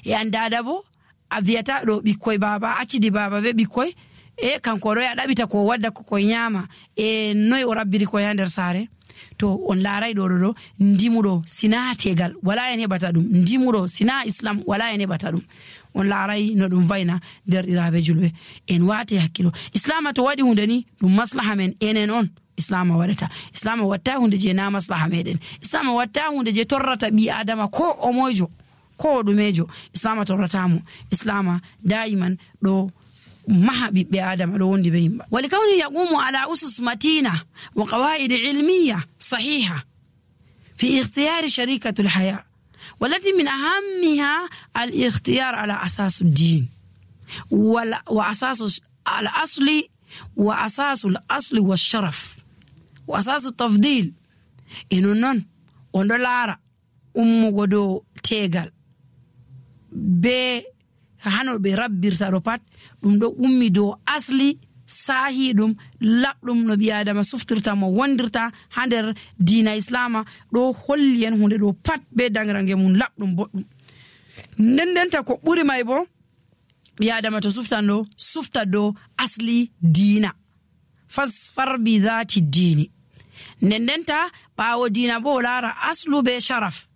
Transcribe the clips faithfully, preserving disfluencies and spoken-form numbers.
e an dada bo a wiyata ɗo ɓikkoy baba accidi baba be ɓikkoy e kanko ɗo ya ɗaɓita ko wadda ko koye nyama e noy o rabbiri koye ha nder saare. To on laaray ɗo ɗo ɗo ndimuɗo sina tegal wala en heɓata ɗum, ndimuɗo sina islam wala en heɓata ɗum. On laaray no ɗum vayna nder ɗiraɓe julɓe. En waati hakkilo, islama to waɗi hunde ni ɗum maslaha men enen on islama waɗata. Islama watta hunde je na maslaha meɗen. Islama watta hunde je torrata ɓi adama ko o moyjo ko o ɗumejo. Islama torratamo. Islama daiman ɗo maha ɓiɓɓe adama ɗo wondi be yimɓe. Wali kawni yaqumu ala usus matina wa qawaid ilmiya sahiha fi ikhtiyari sharikatu alhaya والتي من أهمها الاختيار على أساس الدين وأساس الأصل وأساس الأصل والشرف وأساس التفضيل إنه نون وندلارا أم غدو تيغال be hano be rabbirta ɗo pat ɗum ɗo ummi dow asli sahi ɗum laɓɗum no ɓi adama suftirta mo wondirta ha nder diina islama ɗo holli en hunde ɗo pat be dangrange mum laɓɗum boɗɗum. nden ndenta ko ɓuri may bo ɓi adama to suftan ɗo sufta dow asli diina fasfar bi dhati dini. nden ndenta ɓawo diina bo lara aslu be sharaf.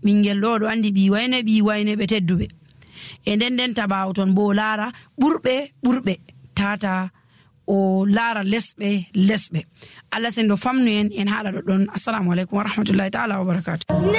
ɓingel ɗo ɗo andi ɓi wayne ɓi wayne ɓe tedduɓe. e nden ndenta ɓawo ton bo lara ɓurɓe ɓurɓe tata o lara lesɓe lesɓe. Allah sen do famnu en en haala ɗo ɗon. Assalamu alaikum wa rahmatullahi ta'ala wa barakatuh.